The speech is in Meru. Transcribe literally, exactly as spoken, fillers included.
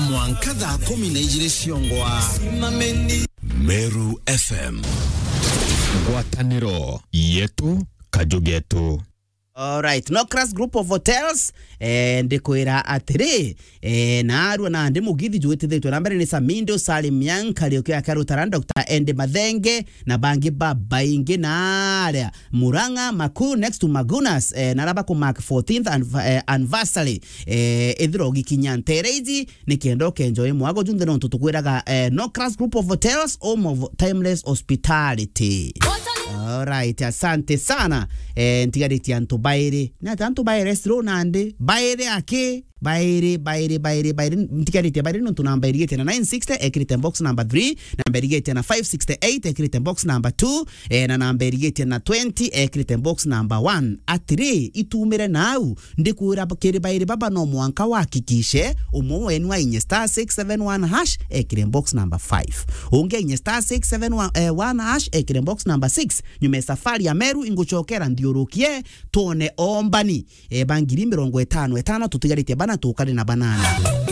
Mwanka thaa kumi na ijiri ciongwa. Meru F M. Ngwataniro yetu, kaju getu. Alright, Nocras Group of Hotels, eh, ndikwira atiri, eh, naarua nandi mugithi jwitithitwe na mbere ni Samindo, Salim Young, Kariuki ya Karutara, Doctor Andy Mathenge, na bangi babaingi na aria Murang'a, Maku, next to Magunas, eh, na aria bakumark fourteenth anv-, eh, anniversary, eh, ithira ugikinya ntere iji, nikenda ukenjoy mwago junthe nontu tukwiraga, eh, Nocras Group of Hotels, home of timeless hospitality. Alright, asante sana. Eh, ntigaritie antu bairi. Ni ati antu bairi stro nandi? Bairi aki? Bairi, bairi, bairi, bairi. Ntigaritie bairi nontu namba irigitie na nine sixty, ekirite box number three, namba irigitie na five sixty-eight, ekirite box number two, eh, na namba irigitie na twenty, ekirite box number one. Atiri, itumire nau, ndikwira kiri bairi baba no mwanka wahakikishe umwe wenu ainye star six seven one hash, ekire box number five. Ungi ainye star six seven one, eh, one hash, ekire box number six. Nyuma ya safari ya Meru, ingucokera nthiurukie, twone ombani, eh, ba ngiri mirongo itano itano, tutigaritie bana, tukari na banana.